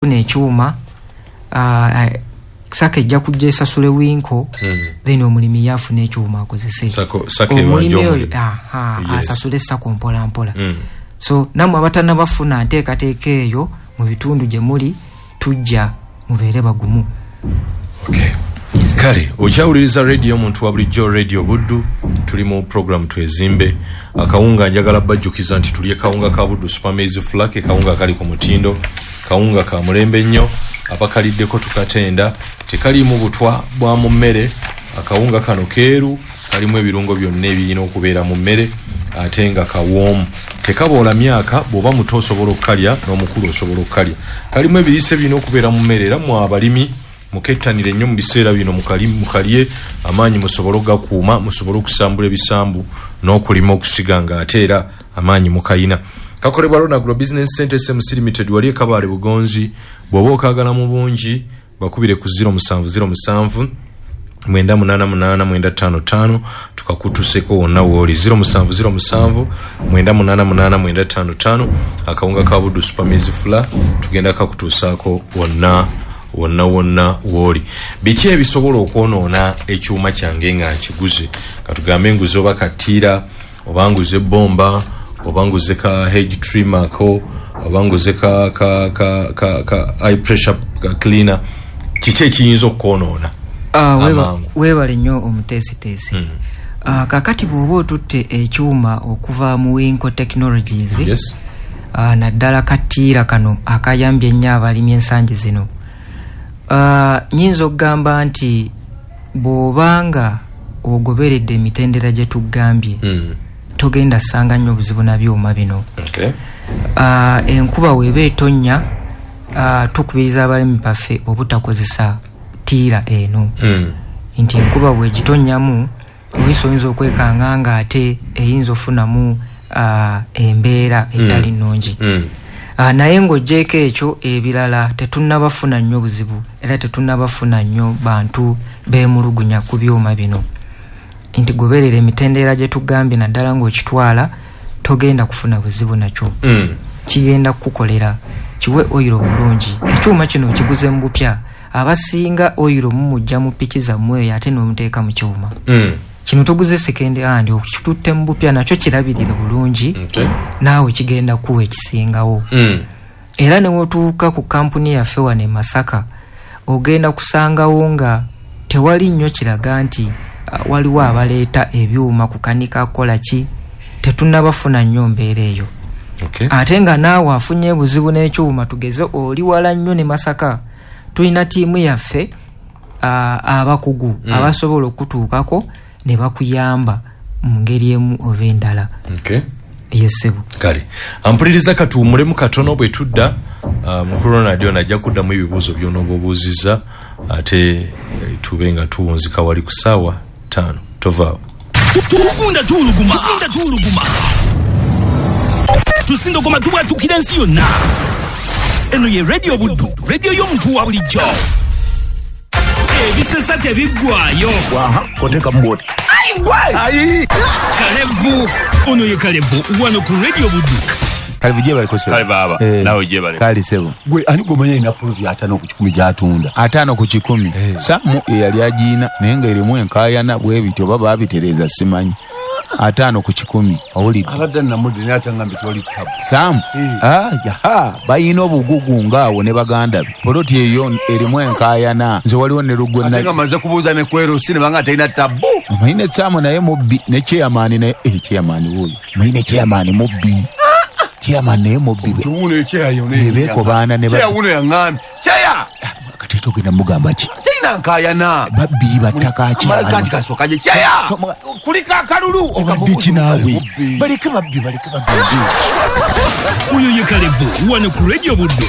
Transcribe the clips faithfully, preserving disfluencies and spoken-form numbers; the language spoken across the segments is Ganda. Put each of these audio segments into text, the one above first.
Ekyuma uh, SACCO ejja kujja esasule Winco, Mm. then omulimi yafuna ekyuma akozese. SACCO- SACCO Omulimi ebanja oyo omulimi. aha, Yes. asasule SACCO mpola mpola. Mm. So nammwe abatannabafuna nteekateeka eyo mu bitundu gye muli, tujja mubeere bagumu. Okay. Kale okyawuliriza radio omuntu wa bulijjo, Radio Buddu. Tuli mu program Twezimbe. Akawunga, njagala bajjukiza nti tulye kawunga ka Buddu Super Maize Flour. Kawunga kali ku mutindo, kawunga ka mulembe nnyo. Abakaliddeko tukatenda, tekaliimu butwa bwa mu mmere. Akawunga kano keeru, kalimu ebirungo byonna ebirina okubeera mu mmere, ate nga kawoomu, tekaboola myaka. Bw'oba muto osobola okukalya, n'omukulu osobola okukalya. Kalimu ebiriisa ebirina okubeera mu mmere. Era mu abalimi mukettanire nnyo mu biseera bino, mukali- mukalye amaanyi musobole okugakuuma, musobole okusambula ebisambu n'okulima, okusiga nga ate era amaanyi mukayina. Kakolebwa Ronagro Business Center S M C Limited, wali ekabaale Bugonzi. Bw'oba okagala mu bungi, bakubire ku zero seven zero seven nine eight eight nine five five, tukakutuseko wonna wooli. zero seven zero seven nine eight eight nine five five. Akawunga ka Buddu Super Maize Flour tugenda kakutuusaako wonna wonna wonna wooli. Biki ebisobola okwonoona ekyuma kyange nga nkiguze? Katugambe nguze oba katiira, oba nguze bomba, oba nguze ka hedge trimmer ko, oba nguze ka, ka, ka, ka, ka high pressure cleaner, kiki ekiyinza okwonoona Ah, weba- amangu? Weebale nnyo omuteesiteesi. Mm. Ah, kakati bw'oba otutte ekyuma okuva mu Winco Technologies, yes ah, naddala katiira kano akayambye ennyo abalimi ensangi zino, Ah, nyinza okugamba nti bw'obanga ogoberedde emitendera gye tugambye, mm. togenda ssanga nnyo buzibu na byuma bino. okay. Ah, enkuba weeba etonnya, ah, tukubiriza abalimi baffe obutakozesa tiira eno, mm. nti enkuba bwegitonnyamu oyinza oyinza okwekanga nga ate eyinza ofunamu ah, embeera etali nnungi. Mm. Ah, naye ng'oggyeko ekyo, ebirala tetunnabafuna nnyo buzibu, era tetunnabafuna nnyo bantu beemulugunya ku byuma bino, nti goberera emitendera gye tugambye, naddala ng'okitwala, togenda kufuna buzibu nakyo. Mm. Kigenda kukukolera, kiwe oyiro bulungi. Ekyuma kino okiguze mu bupya, abasinga oyiro mumujja mu piki zammwe eyo, ate n'omuteeka mu kyuma. Mm. Kino tuguze second hand, okitutte mu bupya, nakyo kirabirire bulungi. Okay. Naawe kigenda kuwa ekisingawo. Mm. Era newotuuka ku kampuni yaffe wano e Masaka, ogenda kusangawo nga tewali nnyo kiraga nti uh, waliwo abaleeta ebyuma kukanika kukola ki. Tetunnabafuna nnyo mbeera eyo. Okay. Ate nga naawe afunye obuzibu n'ekyuma, tugeze oli wala nnyo ne Masaka, tulina ttiimu yaffe uh, abakugu mm. abasobola okutuukako ne bakuyamba mu ngeri emu oba endala. Okay. Yesebo. Kale ampuliriza, katuwummulemu katono. Bwe tudda, uh, mukulu Ronald ono ajja kuddamu ebibuuzo by'onooba obuuzizza, ate eh, tube nga tuwunzika wali ku ssaawa ttaano. Tovaawo. Tugunda tuwuluguma, tugunda tuwuluguma, tusindogoma, tubwatukira ensi yonna. Eno ye Radio Buddu, radio y'omuntu wa bulijjo. Ebisesa tebiggwayo. Kotekamu bwoti. Kalevu ono ye Kalevu wano ku Radio Buddu. Kalevu, gye baliko sebo. Kale baaba, Eh, naawe gye baleko. Kale sebo. Gwe ani gomanya ina poloti ataano ku kikumi gy'atunda? Ataano ku kikumi? Saamu eyali agiina, naye ng'erimu enkaayana bwe bityo, oba baabitereeza simanyi. Ataano ku kikumi, owulidde? Abadde namudde naye atangambye tewali tabu. Saamu. Eh. Ah, yaha, bayina obugugu ngaawo ne baganda be. Poloti eyo erimu enkaayana, nze waliwo ne lugwe. Ate nga maze kubuuza ne kwerusi ne banga talina tabu. Omanyi ne Saamu naye mubbi, ne chairman naye, eh, chairman wuuyo, omanyi ne chairman mubbi, chairman naye mubbi. Kiwuno ekyeyayo. Beekobaana ne ba- Kyeyawuno yaŋŋambye kyeya. Kati togenda mugamba ki? Talina nkaayana. Babbi battaka. Kati kasooka gye kyeya kuliko akalulu. Obadde kinaawe, baleke babbi, baleke bagende. Oyo ye Kalevu wano ku Radio Buddu.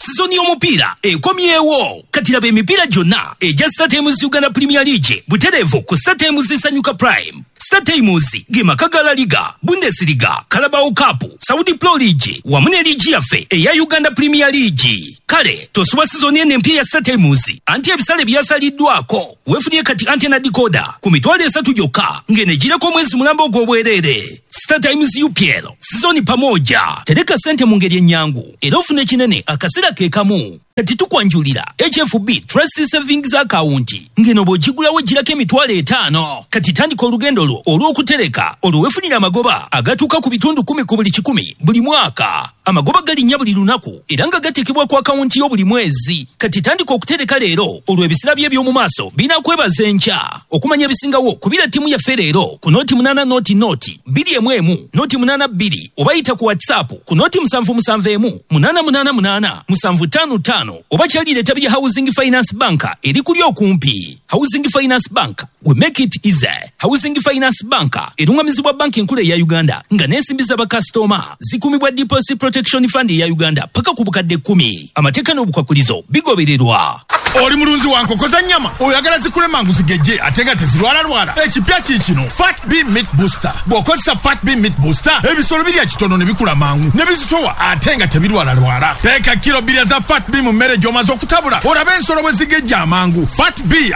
Sizoni y'omupiira ekomyewo. Kati laba emipiira gyonna egya StarTimes Uganda Premier League butereevu ku StarTimes Sanyuka Prime. StarTimes ge maka ga La Liga, Bundesliga, Carabao Cup, Saudi Pro League wamu ne liigi yaffe eya Uganda Premier League. Kale tosubwa sizoni eno empya ya StarTimes, anti ebisale byasaliddwako. Weefunye kati antenna decoder ku mitwalo esatu gyokka, ng'enegireko omwezi mulamba ogw'obwereere. Star Times U P L sizoni pamoja. Tereka sente mu ngeri ennyangu era ofune kinene akaseera ke kamu. Kati tukwanjulira H F B Trust Savings Account ngeno bw'ogigulawo girako emitwalo etaano. Kati tandika olugendo lwo olw'okutereka olwo weefunira amagoba agatuuka ku bitundu kumi ku buli kikumi buli mwaka. Amagoba galinnya buli lunaku era nga gateekebwa ku akawunti yo buli mwezi. Kati tandika okutereka leero olwo ebisira bye eby'omu maaso binakwebaza enkya. Okumanya ebisingawo kubira ttiimu yaffe leero ku nooti munaana nooti nooti bbiri emu emu nooti munaana bbiri oba yita ku WhatsApp ku nooti musanvu musanvu emu munaana munaana munaana musanvu ttaano ttaano oba kyalira ettabi lya Housing Finance Bank eri kuli okumpi. Housing Finance Bank, we make it easy. Housing Finance Bank erungamizibwa banki enkulu eya Uganda nga n'ensimbi z'abakasitoma zikumibwa Deposit Protection Fund eya Uganda paka ku bukadde kkumi. Amateeka n'obukwakulizo bigobererwa. Oli mulunzi wa nkoko za nnyama oyagala zikule mangu zigejje ate nga tezirwalalwala. Ekipya kiikino Fat B Meat Booster. Bw'okozesa Fat B Meat Booster ebisolo birya kitono ne bikula mangu ne bizitowa ate nga tebirwalalwala. Teeka kilo bbiri za Fat B mu mmere gy'omaze okutabula olabe ensolo bwe zigejja amangu. Fat B